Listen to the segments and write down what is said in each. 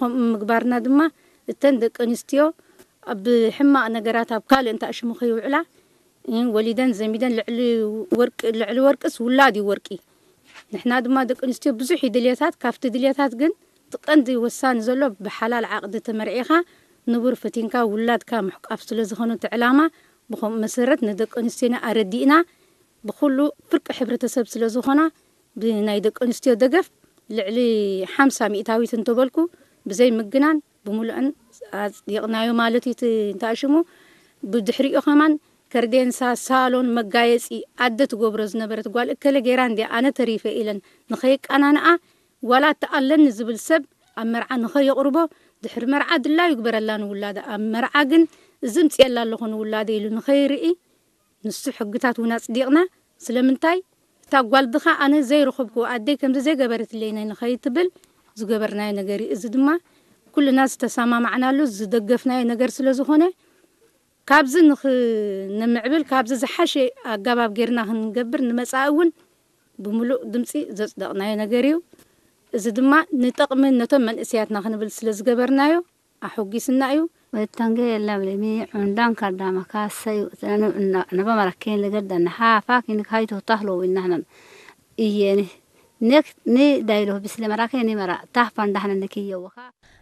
ከምኡ ምግባርና ድማ እተን ደቂ ኣንስትዮ ኣብ ሕማቕ ነገራት ኣብ ካልእ እንተኣሽሙ ከይውዕላ፣ እ፣ ወሊደን ዘሚደን ልዕሊ ወርቂ፣ ልዕሊ ወርቅስ ውላድ እዩ ወርቂ። ንሕና ድማ ደቂ ኣንስትዮ ብዙሕ እዩ ድልየታት፣ ካብቲ ድልየታት ግን እቲ ቀንዲ ወሳኒ ዘሎ ብሓላል ዓቕዲ ተመርዒኻ ንቡር ፈቲንካ ውላድካ ምሕቋፍ ስለ ዝኾነ እቲ ዕላማ፣ ብኸምኡ መሰረት ንደቂ ኣንስትዮና ኣረዲእና ብኹሉ ፍርቂ ሕብረተሰብ ስለ ዝኾና ብናይ ደቂ ኣንስትዮ ደገፍ ልዕሊ ሓምሳ ሚእታዊት እንተበልኩ ብዘይ ምግናን ብምሉእን ኣጽዲቕናዮ ማለት እዩ። እቲ እንተኣሽሙ ብድሕሪኡ ከማን ከርዴንሳ፣ ሳሎን፣ መጋየጺ ኣደ ትገብሮ ዝነበረት ጓል እከለ ገይራ እንድያ ኣነ ተሪፈ ኢለን ንኸየቃናንኣ ዋላ እቲ ኣለኒ ዝብል ሰብ ኣብ መርዓ ንኸየቕርቦ ድሕሪ መርዓ ድላዩ ይግበረላ ንውላደ። ኣብ መርዓ ግን እዚ ምጽኤላ ኣለኹ ንውላደ ኢሉ ንኸይርኢ ንሱ ሕግታት እውን ኣጽዲቕና። ስለምንታይ እታ ጓል ድኻ ኣነ ዘይረኸብኩ ኣደይ ከምዚ ዘይገበረትለይ ናይ ንኸይትብል ዝገበርናዮ ነገር እዩ። እዚ ድማ ኩልና ዝተሰማማዕናሉ ዝደገፍናዮ ነገር ስለ ዝኾነ ካብዚ ንኽንምዕብል ካብዚ ዝሓሸ ኣገባብ ጌርና ክንገብር ንመጻኢ እውን ብምሉእ ድምጺ ዘጽደቕናዮ ነገር እዩ። እዚ ድማ ንጠቕሚ ነቶም መንእሰያትና ክንብል ስለ ዝገበርናዮ ኣሐጒስና እዩ። Wettange ellabelemi undan kardama kasayu tanu naba maraken legaddan ha fakin kayto tahlo winahnan iyeni nek ni daylo bisle marake ni mara tahpan dahnan nekiyowa.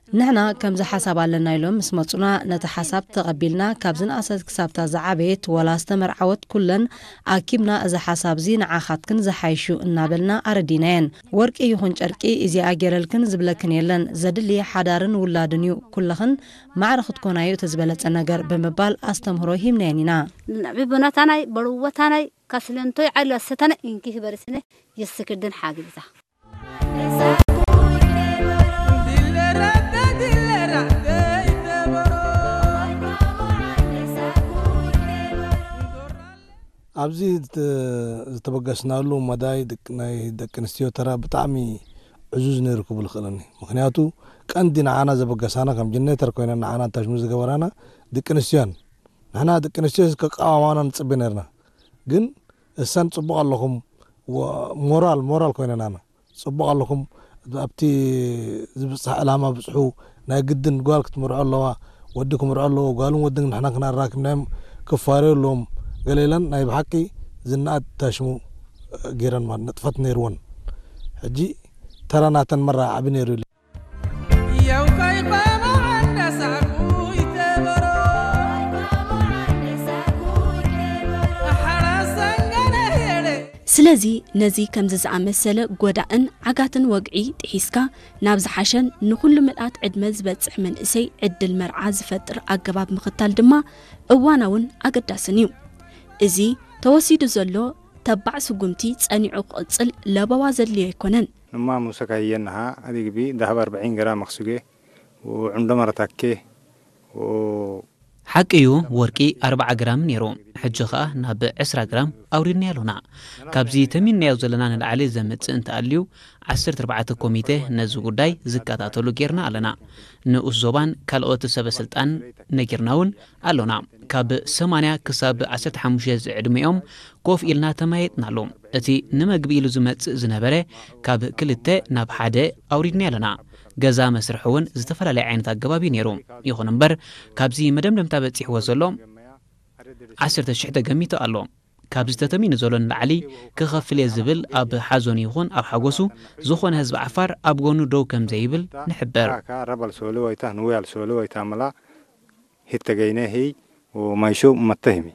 ንሕና ከምዚ ሓሳብ ኣለና ኢሎም ምስ መጹና፣ ነቲ ሓሳብ ተቐቢልና፣ ካብ ዝነኣሰት ክሳብታ ዝዓበየት ወላ ዝተመርዓወት ኩለን ኣኪብና፣ እዚ ሓሳብዚ ንዓኻትክን ዝሓይሽ እዩ እናበልና ኣረዲናየን። ወርቂ ይኹን ጨርቂ እዚኣ ጌረልክን ዝብለክን የለን፣ ዘድሊ ሓዳርን ውላድን እዩ፣ ኩለኽን ማዕረ ክትኮናዮ እቲ ዝበለጸ ነገር ብምባል ኣስተምህሮ ሂብናየን ኢና። ብቦናታናይ በልወታናይ ካስለንቶይ ዓላ ሰተነ ኢንኪ ህበርስነ የስክድን ሓግዛ። ኣብዚ ዝተ-፣ ዝተበገስናሉ መዳይ ደቂ፣ ናይ ደቂ ኣንስትዮ ተራ ብጣዕሚ ዕዙዝ ነይሩ ክብል እኽእለኒ። ምኽንያቱ ቀንዲ ንዓና ዘበገሳና፣ ከም ጀነሬተር ኮይነን ንዓና ታሽሙ ዝገበራና ደቂ ኣንስትዮ እየን። ንሕና ደቂ ኣንስትዮ ከቃዋማና ንጽበ ነርና። ግን እሰን ጽቡቕ ኣለኹም፣ ወ-፣ ሞራል፣ ሞራል ኮይነናና። ጽቡቕ ኣለኹም፣ ኣብቲ ዝብጻሕ ዕላማ ብጽሑ፣ ናይ ግድን ጓል ክትምርዖ ኣለዋ፣ ወዲ ክምርዖ ኣለዎ፣ ጓልን ወድን ንሕና ክናራኪብናዮም ክፋረዩ ኣለዎም፣ ገለ ኢለን ናይ ብሓቂ ዝነኣድ ታሽሙ ገይረን ማለት ንጥፈት ነይርወን። ሕጂ ተራ ናተን መራ ዓቢ ነይሩ ኢሉ። ስለዚ ነዚ ከምዚ ዝኣመሰለ ጎዳእን ዓጋትን ወግዒ ጥሒስካ ናብ ዝሓሸን ንኹሉ ምልኣት ዕድመ ዝበጽሕ መንእሰይ ዕድል መርዓ ዝፈጥር ኣገባብ ምኽታል ድማ እዋናውን ኣገዳስን እዩ። እዚ ተወሲዱ ዘሎ ተባዕ ስጉምቲ ጸኒዑ ክቕጽል ለበዋ ዘድልዮ ኣይኮነን። ንማ ሙሰካ ህየናሃ ኣዲግቢ ዳህብ ኣርብዒን ገራ መኽሱጌ ወዕምዶ መረታኬ ወ ሓቂ እዩ፣ ወርቂ ኣርብዓ ግራም ነይሩ፣ ሕጂ ኸኣ ናብ ዕስራ ግራም ኣውሪድናዮ ኣሎና። ካብዚ ተሚንናዮ ዘለና ንላዕሊ ዘምጽእ እንተኣልዩ፣ ዓሰርተ ኣርባዕተ ኮሚቴ ነዚ ጉዳይ ዝከታተሉ ጌርና ኣለና። ንኡስ ዞባን ካልኦት ሰበ ስልጣን ነጊርና እውን ኣሎና። ካብ ሰማንያ ክሳብ ዓሰርተ ሓሙሽተ ዝዕድሚኦም ኮፍ ኢልና ተመያይጥናሉ። እቲ ንመግቢ ኢሉ ዝመጽእ ዝነበረ ካብ ክልተ ናብ ሓደ ኣውሪድናዮ ኣለና። ገዛ መስርሒ እውን ዝተፈላለየ ዓይነት ኣገባብ እዩ ነይሩ። ይኹን እምበር፣ ካብዚ መደምደምታ በጺሕዎ ዘሎ ዓሰርተ ሽሕ ተገሚቱ ኣሎ። ካብዚ ተተሚኑ ዘሎ ንላዕሊ ክኸፍል እየ ዝብል ኣብ ሓዘኑ ይኹን ኣብ ሓጎሱ ዝኾነ ህዝቢ ዓፋር ኣብ ጎኑ ደው ከም ዘይብል ንሕብር። Ka rabal soli wayta nuwal soli wayta mala hitta gayne hiy o maysho matta himi.